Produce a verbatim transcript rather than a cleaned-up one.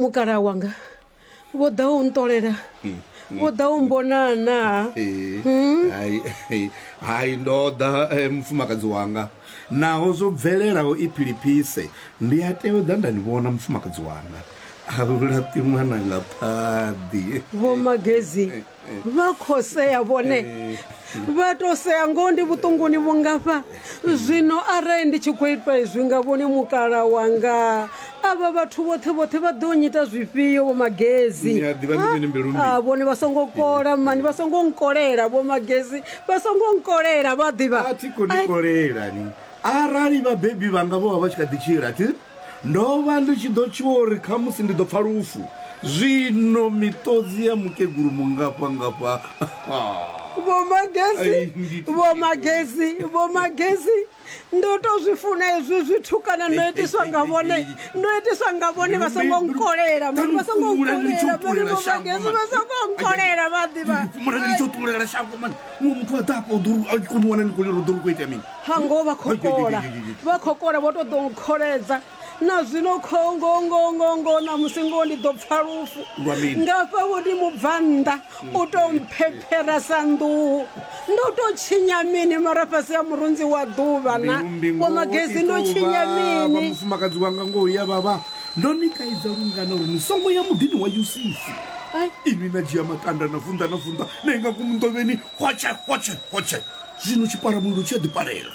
Mukala wanga vho ḓa u nṱolela, vho ḓa u mbona na? Hai, hai, ndo ḓa eh, mufumakadzi wanga. Naho zwo bvelelaho i philiphise, ndi a tea u ḓa nda ni vhona mufumakadzi wanga. A laṱi ṅwana nga phaḓi. Vho Magezi vha khou sea vhone, vha to sea ngoho ndi vhuṱunguni vhungafha. Zwino arali ndi tshi khou itwa izwi nga vhone mukala wanga, avha vhathu vhoṱhe vhoṱhe vha ḓo nyita zwifhio Vho Magezi? Ni a ḓivha ndi mini mbilu mmbi? Ah, vhone vha songo kola mani, vha songo nkolela Vho Magezi, vha songo nkolela vha ḓivha. A thi khou ni kolela ni. Arali vhabebi vhanga vho vha vha tshi kha ḓi tshila, thi ndo vha ndi tshi ḓo tshuwa uri khamusi ndi ḓo pfa lufu. Zwino miṱodzi ya mukegulu mungafha ngafha. Vho Magezi, Ai, ndi- Vho Magezi, Vho Magezi, ndo to zwi funa hezwi zwithu kana ndo itiswa nga vhone, ndo itiswa nga vhone vha songo nkolela mani, vha songo nkolela mani, Vho Magezi vha songo nkolela vha ḓivha. Fhumula ndi tshi ṱulela shango mani. Muṅwe muthu a ḓa afha u ḓo ri- a tshi kona u wana ni khou lila, u ḓo ri khou itea mini? Hango vha khou kola, vha khou kola, vho to ḓo nkholedza na zwino kho ngo ngo ngo ngo ṋamusi ngoho ndi ḓo pfa lufu. Lwa mini? Ngafha vho ndi mubvannḓa u to mphephera sa nḓuhu. Ndo to tshinya mini mara fhasi ya murunzi wa ḓuvha na? Mbilu mmbi Vho ngoho Magezi i ndo tou tshinya vhavha. mini? Mufumakadzi wanga ngoho ya vhavha. Ndo ni kaidza lungana uri ni songo ya muḓini wa Yusufu. Ai. Inwi na dzhia matanda na vunḓa na vunḓa na inga ngomu nḓovheni hotshe hotshe hotshe. Zwino tshipalamulilo tshi a ḓi palela.